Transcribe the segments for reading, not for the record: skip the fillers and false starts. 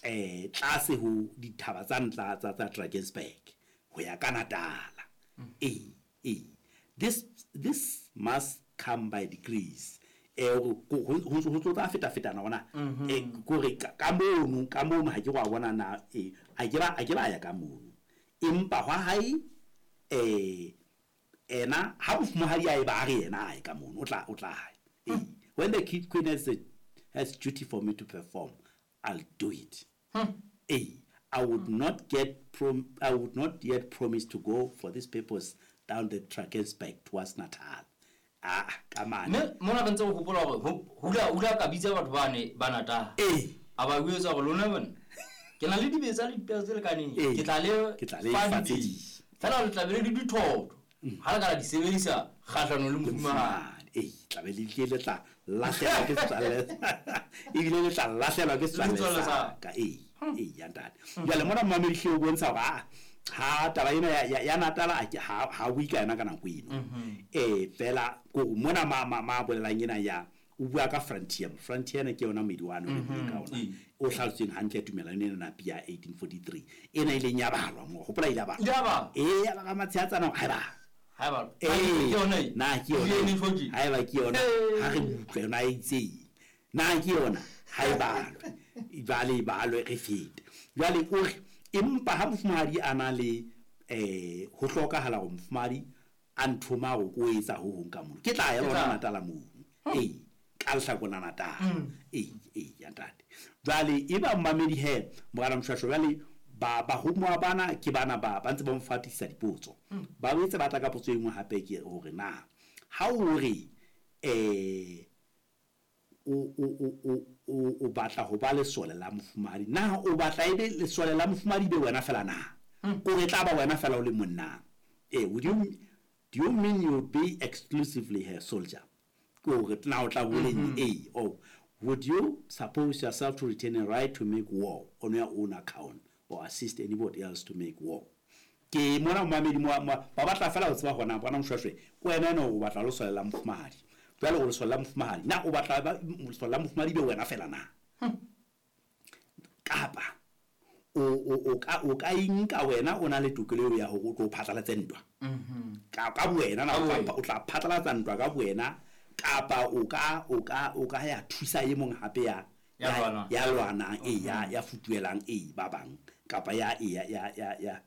Tlase ho dithaba tsa ntla tsa Drakensberg ho ya ka Natala. Ee, ee. This must come by degrees. Ho ntso tla feta-fetana hona. Kore ka mono, ka mono ha ke wa bona na a ke ba ya ka mono. Empa hwa hae ena ha mofumahadi a e ba re yena a ye ka mono, o tla hae. When the queen has duty for me to perform, I'll do it. I would not get I would not yet promise to go for this purpose down the Drakensberg towards Natal. Ah, ka mane. Mme mona re ntse re hopola hore hula ka bitsa batho bane ba Natal. A ba jwetsa hore lona bana ke na le dibetsa le dipere tse lekaneng. Ke tla le Ke tla le fa fa tse dibetsa. ding. Feela le tla be le dithotho. Ha le ka la di sebedisa kgahlanong le mofumahadi. Tla be le tle le tla lahlehelwa ke setswalle. Ebile le tla lahlehelwa ke setswalle Setswalle sa sa ka. Ya ntate. Jwale mona mmamedi hle o bontsha hore ha taba ena ya Natala a ke ha bue ka yona ka nako eno. Fela ko mona ma bolelang ena ya o bua ka frontier. Frontier ena ke yona moedi wa no ka ona. O hlalositsweng hantle tumelano ena Napier ya 1843. Ena e leng ya balwa mo. Hopola ile ya balwa. Ile ya balwa. Ya ba ka matsheatsana ha e balwa. Ha e balwa. Ke yona e. Na ke yona. Ile ne tjho Ha eba ke yona. Ha re utlwe yona e itseng. Na ke yona. Ha e balwe. Jwale e balwe re fete. Jwale o re empa ha mofumahadi a na le ho hlokahala hore mofumahadi a nthoma hore ko etsa ho hong ka mono. Ke tla ya lona Natala mono. Ka lehlakore la Natala. Ya ntate. Jwale e ba mmamedi he Morena Moshweshwe jwale ba bana ke bana ba ntse ba mo fatisa dipotso. Ba boetse ba tla ka potso e nngwe hape ke hore na ha o re o batla ho ba lesole la mofumahadi, na o batla ebe lesole la mofumahadi be wena fela na? O re tla ba wena fela o le monna? Would you, do you mean you would be exclusively her soldier? Ke hore na o tla boleng or would you suppose yourself to retain a right to make war on your own account or assist anybody else to make war? Ke mona mmamedi ba batla fela ho tseba hona bona Moshweshwe wena ena o batla lesole la mofumahadi. Jwale o lesole la mofumahadi, na o batla lesole la mofumahadi be wena fela na? Kapa o ka inka wena o na le tokelo eo ya hore o tlo phatlalatse ntwa. Ka bowena na o tla phatlalatsa ntwa ka bowena, kapa o ka ya thusa e mong hape ya Ya ya lwanang, ya futuelang, ba bang, kapa ya ya ya ya ya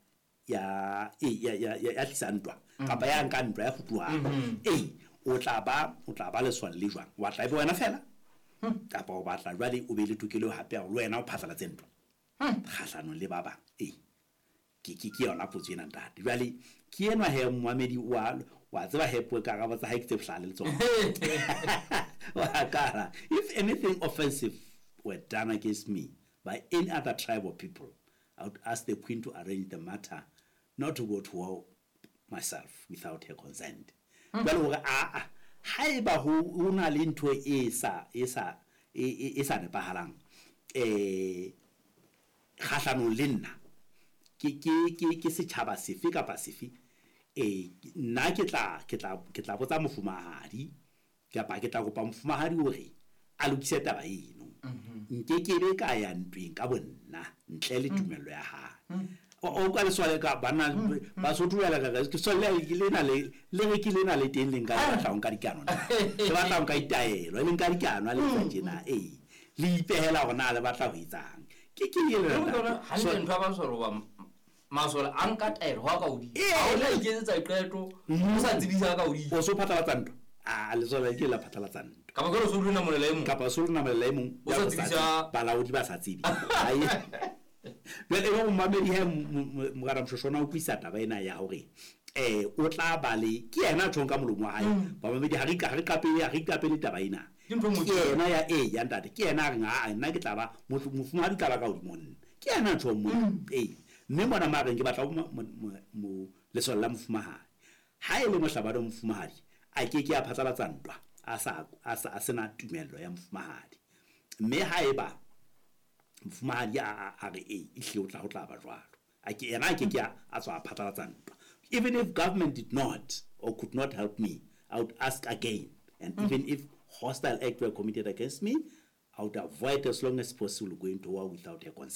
ya ya ya ya tlisa ntwa, kapa ya nka ntwa ya futuhang. O tla ba lesole le jwang? Wa tla e be wena fela? Kapa o batla jwale o be le tokelo hape ya hore le wena o phatlalatse ntwa kgahlanong le ba bang. Ke yona potso ena ntate. Jwale ke enwa he mmamedi wa tseba he puo karabo tsa hae ke tse bohlale le tsona. Wa kara, if anything offensive were done against me by any other tribe or people, I would ask the queen to arrange the matter, not to go to war myself without her consent. Jwale hore a haeba ho na le ntho e sa nepahalang kgahlanong le nna ke setjhaba sefe kapa sefe, nna ke tla botsa mofumahadi kapa ke tla kopa mofumahadi hore a lokise taba eno. Nke ke be ka ya ntweng ka bonna ntle le tumello ya hae. O ka lesole ka bana Basotho ba ka ke sole ke lena le re ke lena le teng le nka le batla ho nka dikano na. Le batla ho nka ditaelo, le nka dikano le etsa tjena. Le ipehela hore na le batla ho etsang. Ke ke le hantle ntho ya masole hoba masole a nka taelo ho ka hodimo. Ha o tla iketsetsa qeto, o sa tsebisa ka hodimo. O so phatlalatsa ntwa. Lesole ke la phatlalatsa ntwa. Kapa ke so lona molela e mong. Kapa so lona molela e mong. O sa tsebisa balaodi ba sa tsebe. Jwale e mmamedi he Morena Moshweshwe o utlwisa taba ena ya hore o tla ba le ke yena a tjhong ka molomo wa hae. Bamamedi ha re iqapele taba ena. Ke ntho e Ke yena ya ya ntate, ke yena a reng a nna ke tla ba mofumahadi tla ba ka hodimo nna. Ke yena a tjhong mona. Mme mona ma reng ke batla ho lesole la mofumahadi. Ha e le mohlabani wa mofumahadi, a ke ke a phatlalatsa ntwa a sena tumello ya mofumahadi. Mme haeba mofumahadi a re ehlile o tla ho tla ba jwalo. A ke yena a ke ke a tswa a phatlalatsa ntwa. Even if government did not or could not help me, I would ask again. And even if hostile act were committed against me, I would avoid as long as possible going to war without her consent.